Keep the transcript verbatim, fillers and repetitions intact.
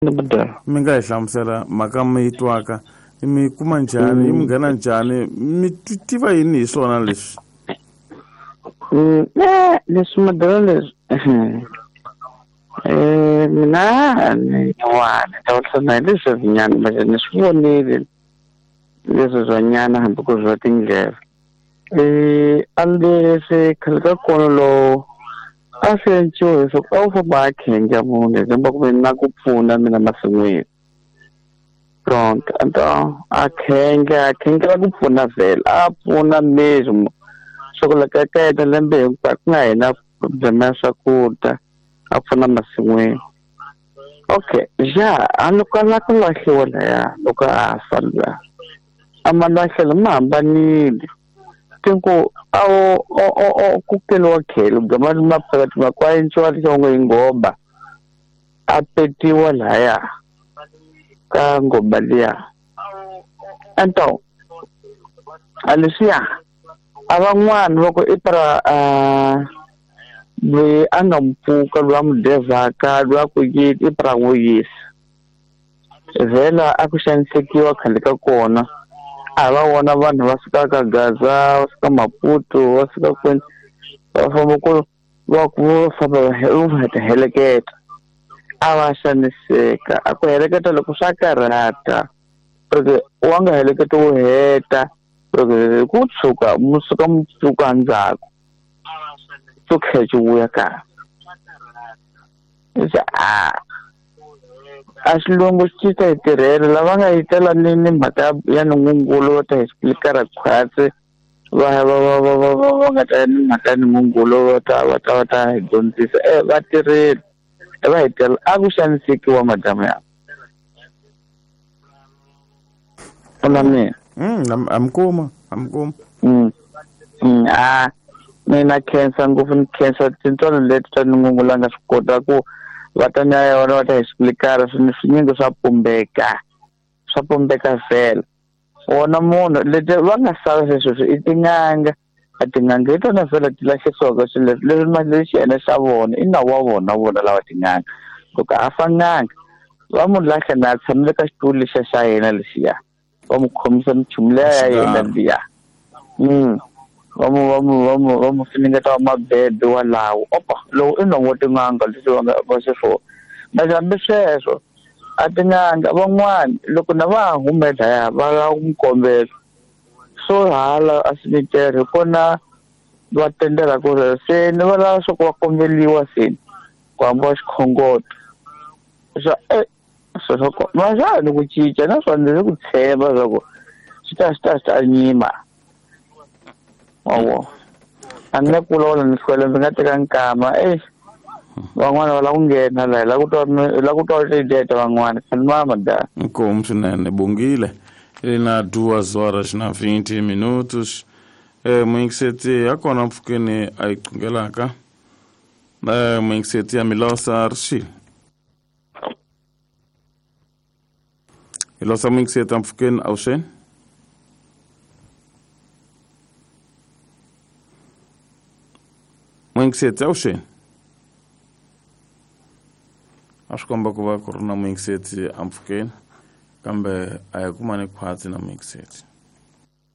Mi nga hi hlamusela mhaka mi yi twaka mi kuma njhani yi mi nghena njhani mi tiva yini hi swona leswi? Leswi madala leswi eh mina ni nyuwana ta vulavula hi leswi nyana manje ni swi vonile leswi swa nyana hambi ku ri swa tindleve. Eh a leswi khale ka kona lowu a swi enciwa leswaku a wu famba a khenja munhu hi ku ve na ku pfuna mina masin'wini. Pronto, então a khenja a khengela ku pfuna vhele a pfuna mesmo swa ku loko ka yena lembe hinkwaro ku nga hina problema ya swakudya a pfuna masin'wini. Okay, ja a loko a lava ku lahliwa laya loko a fa luya a malahlelo ma hambanile tinku a wu o ku keliwa khele gama ma phakathi ma kwa enciwa lexongo hi nghoba a petiwa laya ka nghoba liya. Então a leswiya a van'wani va ku i para loyi a nga mpfuka loyi a mu devhaka loyi a ku yini i para n'wi yisa vhela a ku xanisekiwa khale ka kona a va vona vanhu va suka ka Gaza va suka Maputo va suka kwini va famba ku va ku va famba va ta heleketa a va xaniseka a ku heleketa loko swa karhata porque wa nga heleketa wo heta porque ku tshuka mu suka mu pfuka ndzhaku swo tlhela xi vuya kaya se a a xilungu xi ta hi tirhela lava nga yi tela ni ni mhaka ya ningungulo va ta hi explicar khwatsi va va va va va va va nga ta ni mhaka ya ningungulo va ta va ta va ta hi dyondzisa e va tirhile va hi tirhela a ku xanisekiwa madamu ya na mina. Mm, am kuma am kuma mm mm a mina khensa ngopfu ni khensa tintswalo leti ta ningungulo a nga swi kota ku va ta nya yona va ta hi explicar swilo swinyingi swa pumbeka swa pumbeka vhela wona munhu leti va nga sala sweswo i tin'anga a tin'anga hi tona vhela ti lahlisiwaka swilo leswi leswi ma lexi yena xa vona i nawu wa vona vona lava tin'anga loko a fa n'anga va mu lahla na a tshamile ka xitulu lexiya xa yena lexiya va mu khomisa minchumu liya ya yena liya mm va mu va mu va mu va mu finingeta wa mabebe walawo opa lowu i nomu wa tin'anga leswi va nga va xiswona mase hambi sweswo a tin'anga van'wani loko na va ha hume laya va lava ku mu kombela swo hala a simitere hi kona va tendela ku ri se ni va lava swa ku va kombeliwa seni ku hambiwa xikhongoto swa e swo swa ma xa ni ku cinca naswona ni ku tshemba swa ku swi ta swi ta swi ta nyima wawo a ni nga ku vulavula ni hlwela ndzi nga teka nkama e van'wana va lava ku nghena laha hi lava ku twa hi lava ku twa tideta van'wana khanimama da. Inkomu swinene bongile ili na duas horas na vinte minutos eh muyingiseti ya kona mpfhukeni a yi qungelaka eh muyingiseti ya Milosa Rixile Milosa muyingiseti ya mpfhukeni avuxeni muyingiseti avuxeni a swi komba ku va ku ri na muyingiseti empfhukeni kambe a hi kumani khwatsi na muyingiseti.